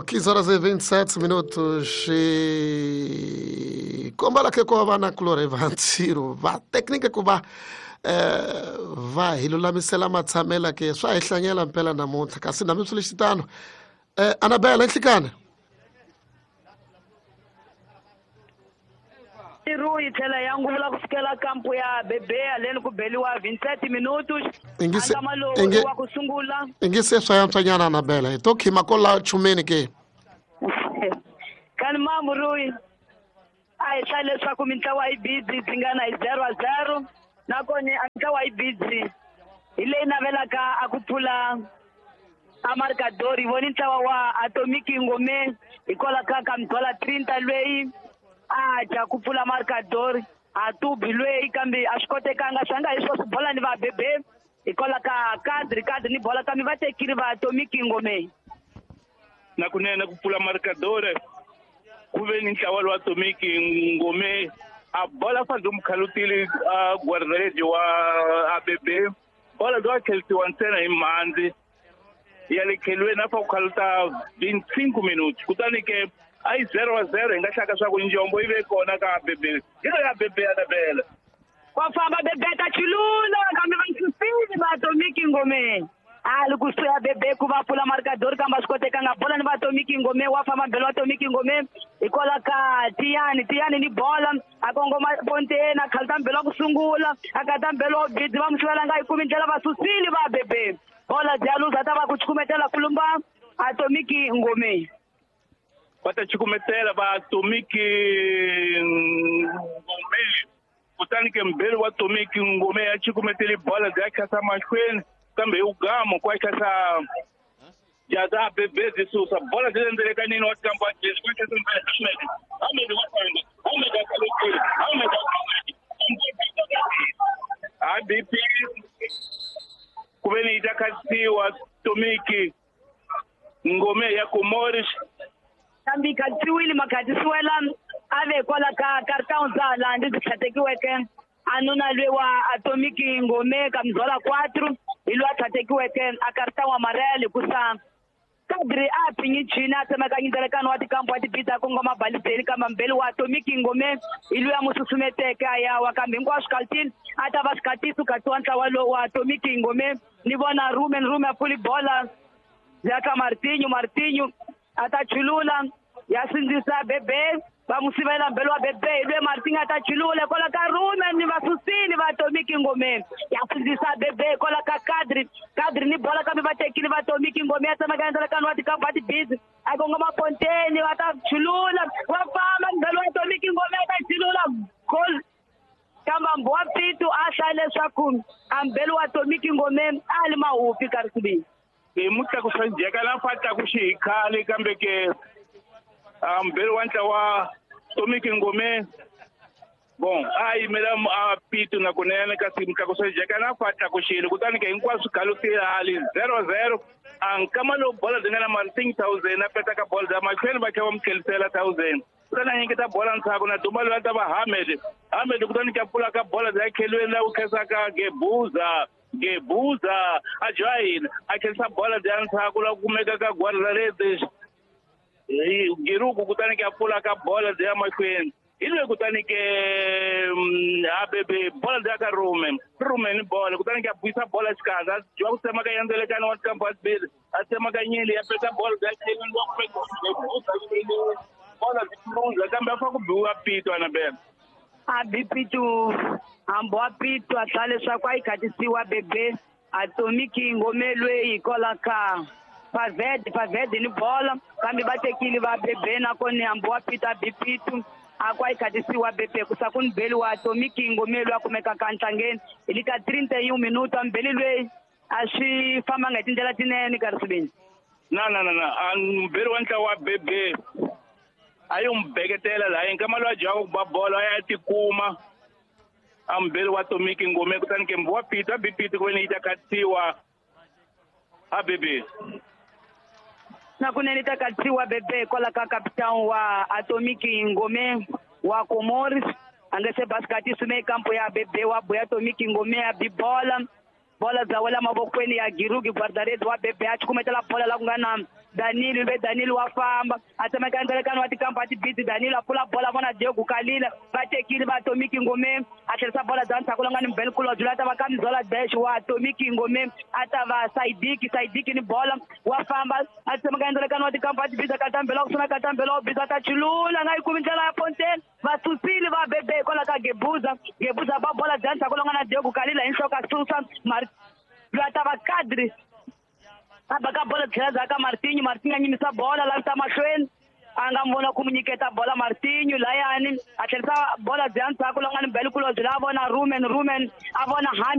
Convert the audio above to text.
15 horas e 27 minutos. E kombela ke ko va na kulorhi va ntirho va teknika ku va va hi lulamisela matshamela ke swa hi hlanyela mpela namuntlha kasi nami swi lexi tano Anabela nhlikana Iru yi tlhela ya ngula ku fikela kampu ya Bebea leni ku beliwa 27 minutos. Angama lowu wa ku sungula. Ingi se swa yantswanyana Anabela hi to khima ko la chumeni ke. Kani mambu Rui a hi hlaya leswaku mintlawa yi busy tingana hi 0-0 nakona a ntlawa yi busy hi leyi navelaka a ku pfula a marcador hi voni ntlawa wa Atomic Ngome hikwalaho ka Kamdola 30 lweyi a dya ku pfula marcador a tubi lweyi kambe a swi kotekanga swi nga hi swo swi bola ni va bebe hikwalaho ka kadri kadri ni bola kambe va tekile va Atomic Ngome. Na kunene ku pfula marcador ku ve ni ntlawa lowa Atomic Ngome a bola fanele mukhalutile a guardaredi wa ABB bola lowa khelisiwa ntsena hi mhandzi ya le khelweni a fa ku khaluta 25 minutos kutani ke a yi 0-0 hi nga hlaka swa ku njombo yi ve kona ka ABB hi lo ya ABB Anabela wa famba Bebe ta chilula kambe va susile va Atomic Ngome a li kusuhi Bebe ku va pfula marcador kambe a swi kotekanga bola ni va Atomic Ngome wa famba mbelo wa Atomic Ngome hikwalaho ka Tiyani Tiyani ni bola a kongoma ponteni a khaluta mbelo wa ku sungula a kata mbelo wa bidzi va mu sivela nga yi kumi ndlela va susile va Bebe bola Jaluza ta va ku chukumetela kulumba Atomic Ngome va ta chukumetela va Atomic Ngome kutani ke mbeli wa Atomic Ngome ya chukumetele bola ya khasa mahlweni kambe hi ugamo kwa khasa jaza Bebe de Sousa bola de ndelekanini wa kampa jezi kwa khasa Ahmed Ahmed wa famba Ahmed akalokile Ahmed ABP kuveni itakasiwa Atomic Ngome ya Comores kambe khatsiwile makhatisiwela a ve kwala ka carton za laha ndzi tlhatekiweke a nuna lwe wa Atomic Ngome ka mzola 4 hi loyi a tlhatekiweke a carton wa marele kusa kadri a phinyi china a tsemaka nyindzelekano wa tikampu wa tibida kongoma balizeni kambe mbeli wa Atomic Ngome hi loyi a mu susumeteke a ya wa kambe hinkwaswo kaltini a ta va swikatiso katiwa ntlawa lowu wa Atomic Ngome ni vona Rumen Rumen a pfuli bola ya ka Martinho Martinho a ta chulula ya sindzisa Bebe va mu sivela mbelo wa Bebe hi lwe Martinho a ta chulula kwala ka Rumen ni va susile va Atomic Ngome ya sindzisa Bebe kwala ka Kadri Kadri ni bola kambe va tekile va Atomic Ngome ya tsemaka endzelekano wa tikampu wa tibizi a kongoma ponteni va ta chulula va famba mbelo wa Atomic Ngome ya ta chulula goal kambe Mbowa Pitu a hlaya leswaku a mbelo wa Atomic Ngome a li mahupi ka risibini hi mutlakusa njheka la fa tlakuxi hi khale kambe ke mbelo wa ntlawa Atomic Ngome bon a yimela a Pitu na kunene kasi mutlakusa njheka na fa tlakuxile kutani ke hinkwaswo khalutile hali 0-0 a nkama lowu bola byi nga na Martin 1000 a petaka bola bya mahlweni va tlhela va mu tlhelisela 1000 kutani a nyiketa bola ndzhaku na duma loyi a ta va Ahmed Ahmed kutani ke a pfula ka bola bya khelweni la ku khensaka Gebuza Gebuza a join a khensa bola bya ndzhaku la kumeka ka Guardarede Giruku kutani ke a pfula ka bola bya mahlweni hi loyi kutani ke ABB bola bya ka Rumen Rumen bola kutani ke a buyisa bola xikandza dyiwa ku tsemaka yandzelekano wa tikampu wa tibili a tsemaka nyili ya peta bola bya khelweni wa kumeka Gebuza bola byi luza kambe a fa ku biwa Pitu Anabela a bi Pitu hambi wa Pitu a hlaya leswaku a yi khatisiwa Bebe Atomic Ngome lweyi hikwalaho ka Paved Paved ni bola kambe va tekile va Bebe nakona hambi wa Pitu a bi Pitu a ku a yi khatisiwa Bebe ku sa ku ni beli wa Atomic Ngome loyi a kumekaka ntlangeni hi le ka 31 minuto a mbeli lweyi a swi fambanga hi tindlela tinene ka risibini na na na na a mbeli wa ntlawa wa Bebe a yi n'wi beketela laha nkama loyi a dyaka ku ba bolo a ya tikuma a mbeli wa Atomic Ngome kutani ke wa Pitu a bi Pitu ku veni yi ta khatsiwa a Bebe na kunene ta katsiwa Bebe kwala ka captain wa Atomic Ngome wa Comores a nga se basikati sume kampo ya Bebe wa boya Atomic Ngome ya bi bola bola bya wela mavokweni ya Girugi Guardarede wa Bebe a chukumetela bola la ku nga na Danilo ve Danilo wa famba a tsemeka ndzelekano wa tikampa tibiti Danilo a pfula bola vona Diego Kalila va tekile va Atomic Ngome a tlherisa bola bya ndzhaku la nga ni Mbele Kulobye loyi a ta va ka Mzola Dash wa Atomic Ngome a ta va Saidiki ni bola wa famba a tsemeka ndzelekano wa tikampa tibiti katambela ku suna katambela wa biza ta chulula nga yi kumi ndlela ya Fontaine va susile va bebe hikwalaho ka Gebuza Gebuza ba bola bya ndzhaku la nga na Diego Kalila hi nhloko a susa loyi a ta va Kadri a baka bola tlhela ndzhaku ka Martinho Martinho a nyimisa bola lavisa mahlweni a nga vona ku mu nyiketa bola Martinho layani a tlherisa bola bya ndzhaku la nga ni Mbele Kulobye la a vona Rumen a vona Hamen.